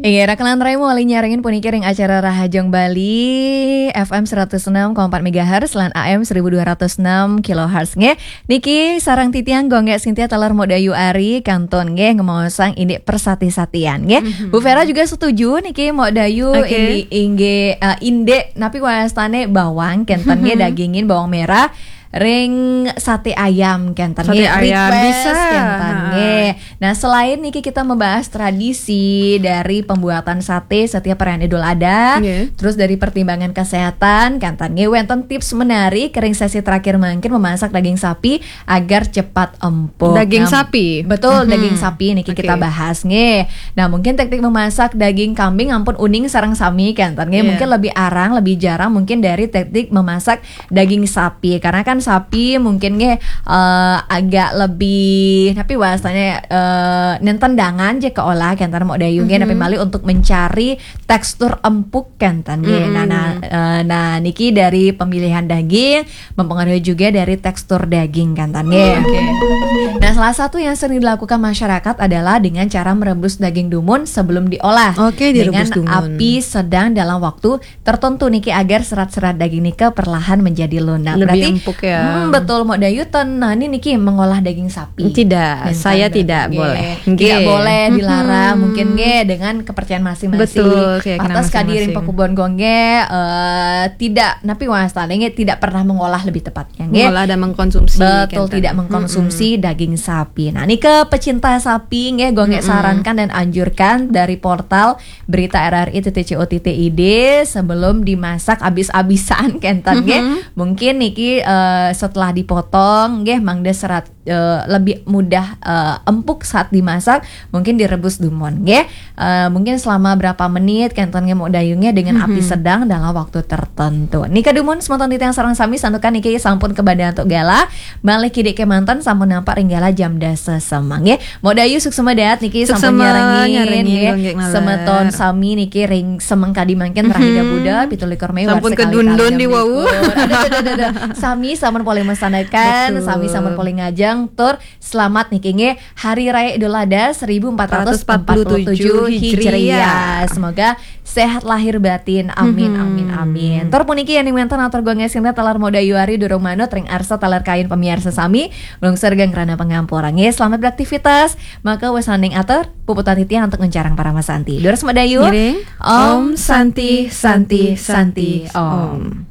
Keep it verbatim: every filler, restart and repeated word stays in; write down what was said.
Inggih, rakan lantarai mawali nyarengin puniki ring acara Rahajeng Bali, F M seratus enam koma empat megahertz lan A M seribu dua ratus enam kilohertz nggih. Niki sareng titiang Gung Gek Sintia taler Mok Dayu Ari kantun nggih ngemaosang indik persati-satian nggih. Bu Vera juga setuju niki Mok Dayu. Inggih, inggih, eh, indik napi wastane bawang kenten nggih, dagingin bawang merah ring sate ayam kenten nggih, request bisa kenten nggih. Nah, selain niki kita membahas tradisi dari pembuatan sate setiap perayaan Idul Adha, terus dari pertimbangan kesehatan kenten nggih, wenten tips menarik ring sesi terakhir mangkin memasak daging sapi agar cepat empuk. Daging sapi. Betul, daging sapi niki kita bahas nggih. Nah, mungkin teknik memasak daging kambing ampun uning sareng sami kenten nggih. Mungkin lebih arang, lebih jarang mungkin dari teknik memasak daging sapi, karena kan sapi mungkin nggih, eh, agak lebih, tapi bahasanya, eh, nenten dangan je keolah kenten Mok Dayu nggih, tapi malih untuk mencari tekstur empuk kenten nggih. Nah, nah, eh, nah, niki dari pemilihan daging mempengaruhi juga dari tekstur daging kenten nggih. Nah, salah satu yang sering dilakukan masyarakat adalah dengan cara merebus daging dumun sebelum diolah. Oke, direbus dumun. Dengan api sedang dalam waktu tertentu niki agar serat-serat daging nika perlahan menjadi lunak. Lebih empuk ya. Hmm, betul, Mok Dayu ten, nah, ini niki mengolah daging sapi. Tidak, saya tidak boleh. Tidak boleh, dilarang mungkin nggih dengan kepercayaan masing-masing. Betul, keyakinan masing-masing. Kadi ring pakubon Gung Gek, eh, tidak, napi wastane nggih, tidak pernah mengolah lebih tepatnya nggih. Mengolah dan mengkonsumsi. Betul, tidak mengkonsumsi daging sapi. Nah, ini ke pecinta sapi nggih, Gung Gek sarankan dan anjurkan dari portal berita R R I titik C O titik I D sebelum dimasak abis-abisan kenten nggih. Mungkin niki, eh, setelah dipotong nggih mangda serat, eh, lebih mudah, eh, empuk saat dimasak, mungkin direbus dumun nggih. Eh, mungkin selama berapa menit kenten nggih Mok Dayu nggih dengan api sedang dalam waktu tertentu. Nika dumun semeton titiang sareng sami santukan niki sampun kebada antuk galah. Malih kidik kemanten sampun nampak ring galah jam dasa semeng nggih. Mok Dayu suksma dahat niki sampun nyarengin nggih. Semeton sami niki ring semeng kadi mangkin rahina Buda pitu likur Mei warsa kalih tali enam likur. Aduh, aduh, aduh, aduh. Sami sampun polih masanekan, sami sampun polih ngajeng tur selamat niki nggih Hari Raya Idul Adha seribu empat ratus empat puluh tujuh Hijriah. Semoga sehat lahir batin. Amin, amin, amin. Tur puniki yen wenten atur Gung Gek Sintia taler Mok Dayu Ari durung manut ring arsa taler kayun pamiarsa sami, lungsur geng rana pangampura nggih. Selamat beraktivitas. Maka wesaning atur puputang titiang antuk nguncarang parama santi. Durus Mok Dayu. Ngiring. Om Santi, Santi, Santi, Om.